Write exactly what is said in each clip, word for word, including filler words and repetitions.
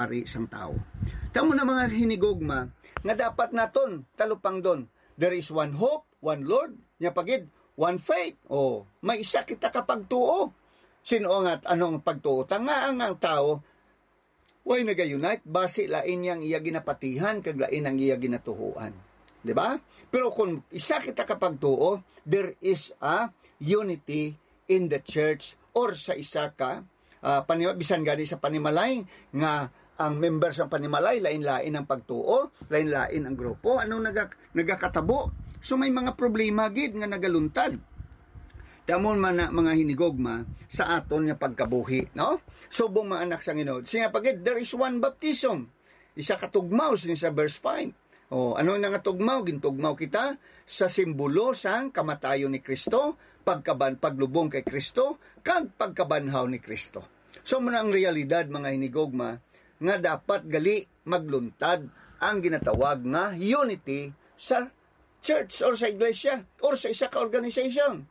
ari sang tawo. Tamo na mga hinigugma nga dapat naton talupangdon. There is one hope, one Lord, nya pagid, one faith. O, may isa kita ka pagtuo. Sino nga, ano ang pagtuo? Tanga ang, ang tawo, way nag-unite, basi lain niya ang iya ginapatihan, kag lain ang iya ginatuhoan. Di ba? Pero kung isa kita ka pagtuo, there is a unity in the church or sa isa ka, ah, panima-, bisan gani sa panimalay nga ang member sa panimalay, lain-lain ang pagtuo, lain-lain ang grupo. Ano naga-, nagakatabo? So may mga problema gid nga nagaluntad. Tamo man na mga hinigugma sa aton nga pagkabuhi, no? Subong mga anak sa Ginoo. Siya pa gid, there is one baptism. Isa ka tugmaw, siya sa verse five. O, ano na nga tugmaw? Gintugmaw kita sa simbolo sang kamatayon ni Kristo, pagkaban-, paglubong kay Kristo, kag pagkabanhaw ni Kristo. So, muna ang realidad, mga hinigugma, nga dapat gali magluntad ang ginatawag nga unity sa church or sa iglesia or sa isa ka organization.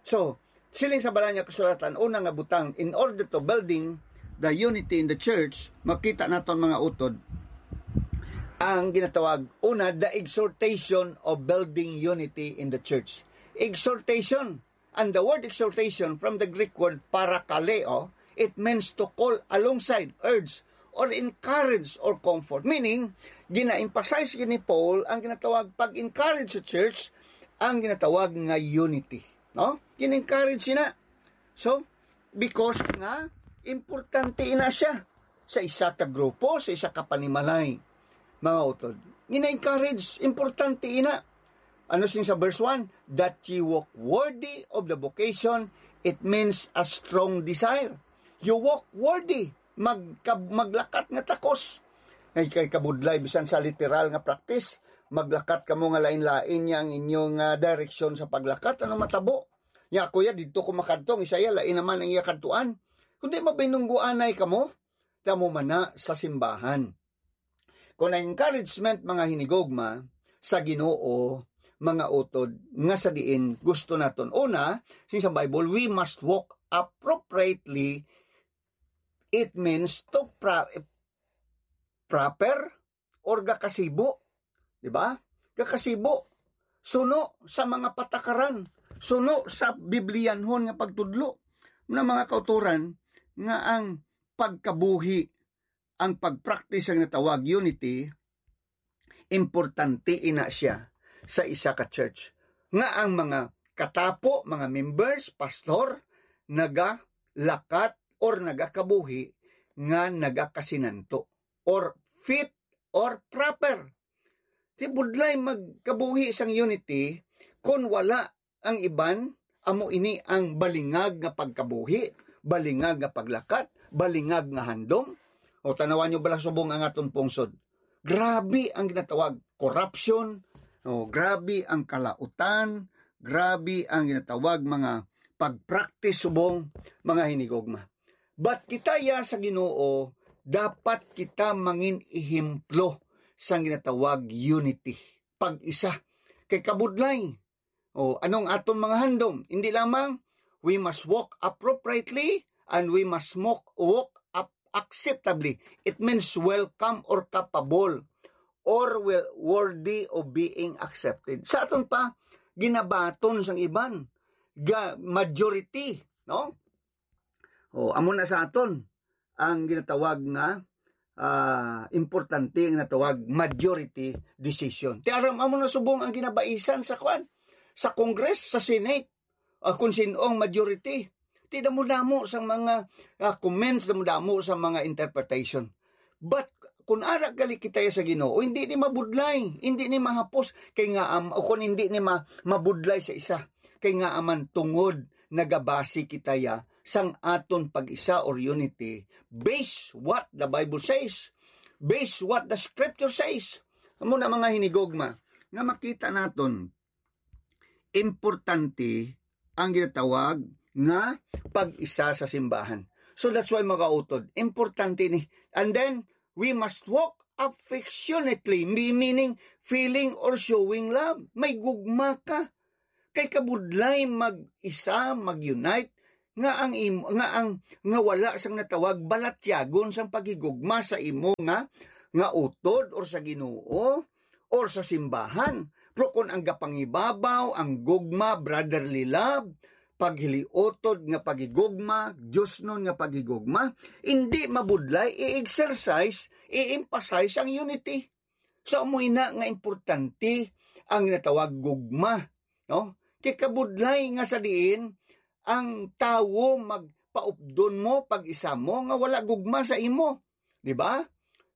So, siling sa Balaan nga Kasulatan, una nga butang, in order to building the unity in the church, makita naton mga utod ang ginatawag, una, the exhortation of building unity in the church. Exhortation. And the word exhortation from the Greek word parakaleo, it means to call alongside, urge, or encourage or comfort. Meaning, gina-emphasize gid ni Paul ang ginatawag pag-encourage sa church, ang ginatawag nga unity. No? Gina-encourage sina. So, because nga, importante ina siya sa isa ka grupo, sa isa ka panimalay. Mga utod, gina-encourage, importante ina. Ano sing sa verse one? That ye walk worthy of the vocation, it means a strong desire. You walk worthy. Magka-, maglakat nga takos. Ay, kay kabudlay, bisan sa literal nga practice, maglakat kamo nga lain-lain niya ang inyong, ah, direksyon sa paglakat. Ano matabo? Nya, kuya, didto ko makadto, ang isa iya, lain naman ang iya kadtuan. Kundi mabinungguanay kamo, tamo man na sa simbahan. Kung ang encouragement, mga hinigugma, sa Ginoo, mga utod, nga sa diin gusto naton. Una, sing sa Bible, we must walk appropriately. It means to pra-, proper or gakasibo. Di ba? Gakasibo. Suno sa mga patakaran. Suno sa Biblianhon nga pagtudlo. Na mga kauturan nga ang pagkabuhi, ang pag-practice ang natawag unity, importante ina siya sa isa ka church. Nga ang mga katapo, mga members, pastor, nagalakat or nagakabuhi nga nagakasinanto or fit or proper. Di budlay magkabuhi sang unity kon wala ang iban. Amo ini ang balingag nga pagkabuhi, balingag nga paglakat, balingag nga handom. O, tanawan nyo bala subong ang aton pungsod. Grabe ang ginatawag corruption, o, grabe ang kalautan, grabe ang ginatawag mga pag-practice subong mga hinigugma. But kita ya sa Ginoo, dapat kita mangin ehemplo sang ginatawag unity, pag-isa. Kay kabudlay, o, anong aton mga handom? Hindi lamang, we must walk appropriately and we must walk, walk up acceptably. It means welcome or capable or well, worthy of being accepted. Sa aton pa, ginabaton sang iban, ga majority, no? O, amo na sa aton ang ginatawag nga, ah, importante ang natawag majority decision. Ti aram, amo na subong ang ginabaisan sa kwan, sa Congress, sa Senate, ah, kung sino ang majority. Ti damo-damo sang mga, ah, comments, damo-damo sa mga interpretation. But kung ara gali kita sa Ginoo, hindi ni mabudlay, hindi ni mahapos. Kay nga am-, o kung hindi ni ma-, mabudlay sa isa, kay nga aman tungod nagabasi kita ya sang aton pag-isa or unity, base what the Bible says, base what the scripture says. Amo na mga hinigugma nga makita naton, importante ang ginatawag nga pag-isa sa simbahan. So that's why, mga utod, importante ni. And then, we must walk affectionately, me-, meaning feeling or showing love. May gugma ka. Kay kabudlay mag-isa, mag-unite, nga ang im-, nga ang, nga wala sang natawag balatyagon sang paghigugma sa imo nga, nga utod or sa Ginoo or sa simbahan. Pero kung ang gapangibabaw, ang gugma, brotherly love, paghiliutod nga paghigugma, diosnon nga paghigugma, indi mabudlay i-exercise, i-emphasize ang unity. So, amo ina nga importante ang natawag gugma, no? Kay kabudlay nga sa diin ang tawo magpaupdon mo, pag-isa mo, nga wala gugma sa imo, di ba?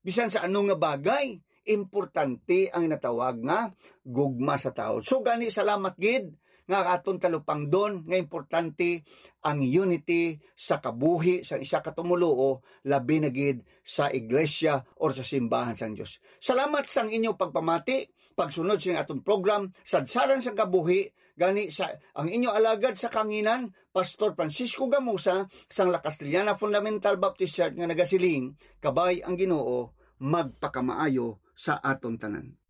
Bisan sa ano nga bagay, importante ang natawag nga gugma sa tawo. So gani, salamat gid nga aton talupangdon nga importante ang unity sa kabuhi sa isa ka tumoluo, labi na gid sa iglesia or sa simbahan sang Dios. Salamat sang inyo pagpamati, pagsunod sing aton program, Sadsaran sang Kabuhi, gani sa ang inyo alagad sa kanginan, Pastor Francisco Gamusa, sang La Castellana Fundamental Baptist Church, nga nagasiling, Kabay ang Ginoo, magpakamaayo sa aton tanan.